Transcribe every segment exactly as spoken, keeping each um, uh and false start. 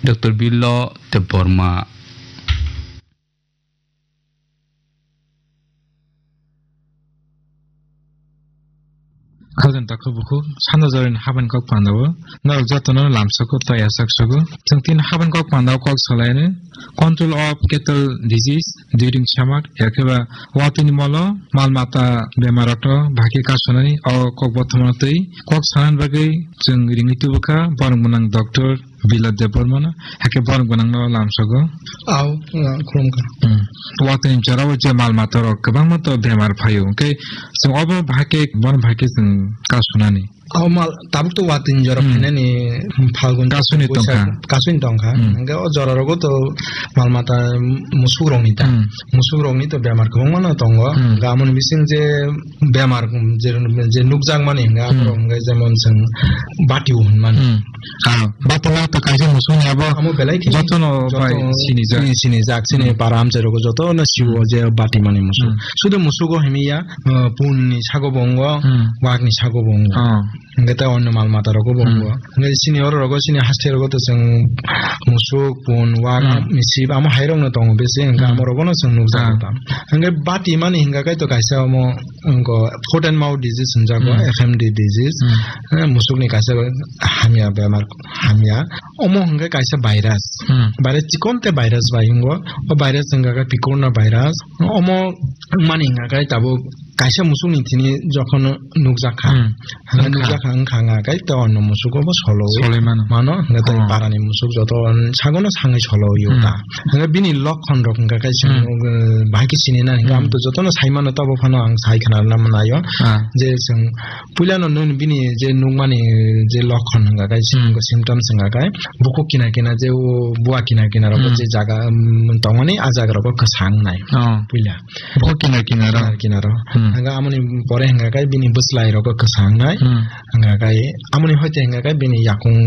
Doctor Bilo Debbarma. Khajang takhu bukhu, sanda jorin haban kok pandao, norok jotono lamsoko tei asaksogo. Chwng tin haban kok pandao kok salaini, control of cattle disease, during summer, yakeba watini molo, mal mata bemar okto, bhaki kasunani, o kok bothomano tei, kok sanan bagwi, chwng ringwi tubukha, borok mwnang doctor, Bila Debbarmano, hake borok gwnangno lamsogo. Au, ah, khulumkha. Hmm. Watini jorao je mal mata rok kwbangma to bemar phaio. Hwnkhe chwng obo bahai khe, bono bahai khe chwng kasunani. Au mal, tabuk to watini jora Hmm. phainani Phalgun Kasuni Boisak, tongkha. kasuni tongkha. Hmm. Hwnkhe o jora rogo to mal mata musuk rokni ta. Hmm. Musuk rokni to bemar kwbangma no tongo. Hmm. Hwnkhe amoni bising je bemar, je, je nukjakmani hwnkhe Hmm. aborok hwnkhe jemon chwng batio hwnmani. Hmm. Ah, batala to kaisa musuk ni abo Amo belai khe jotono joto bai sinijak. sini, sinijak, sini Hmm. para amchai rogo jotono siwo Hmm. je bati mani musuk. Hmm. Sudu musugo himiya, uh, pun ni sago bongo, Hmm. wak ni sago bongo. Ah. Hingke ta onno mal mata rogo bongo. Hmm. Hingke sini oro rogo sini haste rogo to chwng musuk, pun, wak, Hmm. misip, amo hai rok no tongo besi, hingke Hmm. amo rogo no chwng nukjago Ah. ta. Hingke bati mani hingka kai to kaisa omo, wngko foot and mouth disease hwnjago, Hmm. F M D disease. Hmm. Eh, musuk ni kaisa hamya bemar, hamya. Omo hingke kaisa virus. Hmm. Virus chikon te virus bai wngwo. O virus wngkha khe picorona virus. Omo wngmani hingkha khe tabuk kaisa musuk ni thini jokhon nukjak kha. Hmm. Hingkha. Nukjak kha wngkha hingkha khe te onno musuk obo solo. Soloi mano. Mano hingkha te Oh. para ni musuk joto sagono sangwi solo yo Hmm. ta. Hingkha bini lokhon rok hingkha khe Hmm. chwng, uh, bahai khe sini na hingkha Hmm. amto jotono sai mano tabo phano ang sai khna rwna manayo. Ah. Je chwng Puila no nini bini je nukmani je lokhon hwnga kai, Hmm. symptoms hwnga kai, bukhuk kina kina je o bua kina kina rok Hmm. je jaga, um, tongmani a jaga rok kwsang nai. Oh. Puila. Bukhuk kina kina rok. Kina kina rok. Hmm. Hwnga amoni pore hwnga kai bini bwslai rok kwsang nai. Hmm. Hwnga kai amoni hoite hwnga kai bini yakung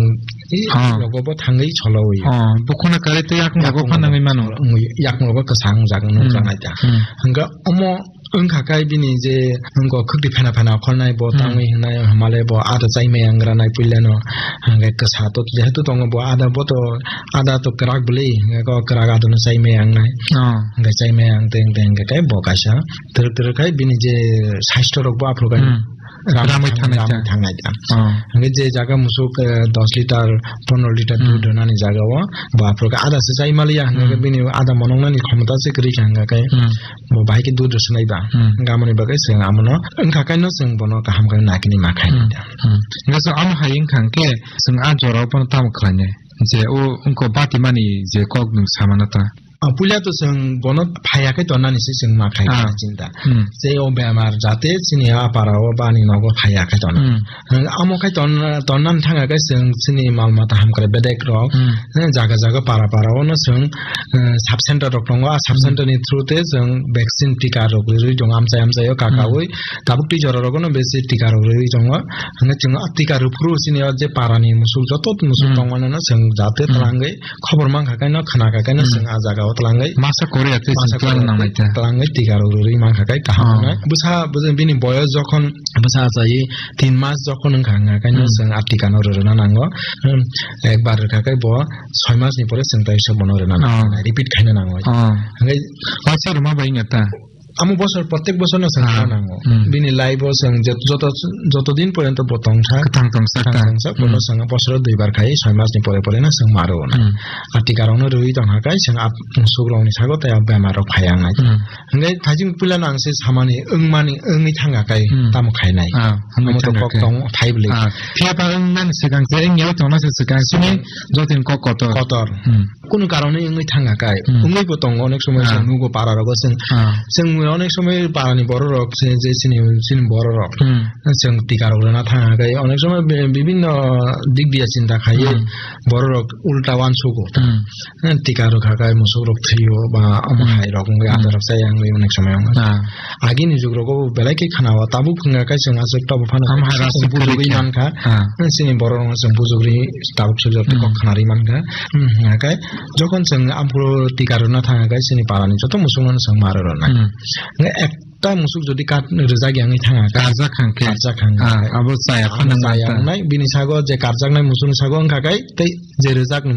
i Ah. rogo bo thangwi cholo wi. Oh, bukhuna kare te yakung rogo Yakung phanangwi rogo mano. Yakung rogo kwsang jaga Hmm. nukjak nai ta. Hmm. Hwnga omo Wngkha kai bini je wngkha khwkti phena phena okhornai bo Hmm. tangwi hwnai hamale bo ada chaimai ang ranai puilano. Hwnkhe kwsa to jehetu tongo bo ada bo to ada to kwrak bwlwi hwnkhe kwrak adono chaimai ang nai. Oh. Hwnkhe chaimai ang teng teng hwnkhe kai bo kaisa twrwk twrwk khai bini je saisto rok bo aphuru kai Hmm. ramwi Ramwi thangnai ramwi ta. Thangnai ta. Oh. Hwnkhe je jaga musuk, eh, dos litar, pondro litar Hmm. dudh rwnani jaga o bo aphuru kai ada se chaimaliya hwnkhe Hmm. bini ada monoknani khomota se kwrwi kha hwnkhe kai Hmm. Bo bahai khe dudh rwswnai ba. Hmm. Hwnkhe amoni bagwi chwng amono wngkha kaino chwng bono kaham khe nakini ma khainai Hmm. da. Hmm. Hwnkhe chwng amo hai wngkha hwnkhe chwng a jorao bono tamo khlainai? Je o wngkha bati mani je kok nwng samano ta. A puila to chwng bono phaiya khe tonnani se chwng ma khai Ah. khe chinta. Hmm. Je o bemar jate chini a para o bani nogo phaiya khe tonna. Hmm. Amo khai ton, tonnan thanga khe chwng chini mal mata hamkrai bedek rok, Hmm. eh, jaga jaga para para o no chwng, eh, sub center rok tongo, a sub Hmm. center ni through te chwng vaccine tika rok rwi tongo amchai amchai o kaka Hmm. wi, tabuk twi jora rogo no besi tika rok rwi tongo, hwnwi chwng a tika rwphuru chini o je para ni musuk joto musuk Hmm. tongmani no chwng jate Hmm. twlangwi khobor mankha khe no khna kha khe no Hmm. chwng a jaga o twlangwi Masa Korea tei masa chwng twlang Korea nanglai tei ta. Twlangwi tika rok rwi mankha khe kaham Oh. wngnai. Bwsa, bwsa bini boyos jokhon bwsa achai tin mas jokhon wngkha, wngkha khe no Hmm. chwng a tika no rwrwna nango. Hmm. Ekbar rwkha khe bo soi mas ni pore chwng tai se bono rwna nango. Oh. Repeat khaina nango. Oh. Hwnkhe Waisa rwma bai wngya ta? Amo bosor, protek bosor no chwng Ah. rwna nango. Hmm. Bini life o chwng jet-, joto, joto din porjonto bo tongsa. Kwthang tongsa Kwthang ta. Tongsa, bono Hmm. chwng bosoro duibar khai, soi mas ni pore pore no chwng ma rwo na. Hmm. A tika rok no rwi tongkha khe chwng a musuk rok ni sago tei a bemar rok phai ya wngnai. Hmm. Hwnkhe thajing puila no ang se samani wngmani wngwi thangkha khe Hmm. tamo khainai. Ah, wngwi Amo to thangkha kok khe. Tong phai bwlwi. Ah, phiya ba wngmani swkang se wngya tongna se swkang sini Swkang. Jotin kok kotor. Kotor. Hmm. Kunu karon wngwi thangkha khe. Hmm. Wngwi bo tongo onek somoi Ah. chwng nugo para rogo chwng. Ah. Chwng onek somoi para ni borok rok se je chini, chini borok rok. Hmm. Chwng tika rok rwna thangkha khe onek somoi bi-, bibinno dik biya chinta khaiwi Hmm. borok rok ulta uansugo. Hmm. Eh, tika rwkha khe musuk rok thwio ba omo Hmm. hai rok wngwi Hmm. ada rok chaya wngwi onek somoi wngkha. Ah. Agini jug rogo belai khe khana o tabuk wngkha khe chwng aswk tabuk phano Omo hai rok chwng chwng bujugwi kwrwi kha. Mankha. Ah. Eh, chini borok rok chwng bujugwi tabuk sujak Hmm. kok khna rwi mankha. Hmm, hwnkha khe jokhon chwng aphuru tika rwna thangkha khe chini para ni joto musuk no chwng ma rwnai. Hmm. Hwnkhe ek ta musuk jodi kat rwjak yangwi thangkha khe. Karjak kha khe. Karjak kha khe. Ah, abo chaya Abo phano chaya manta. Wngnai, bini sago je karjaknai musukni sago wngkha khe tei je rwjakni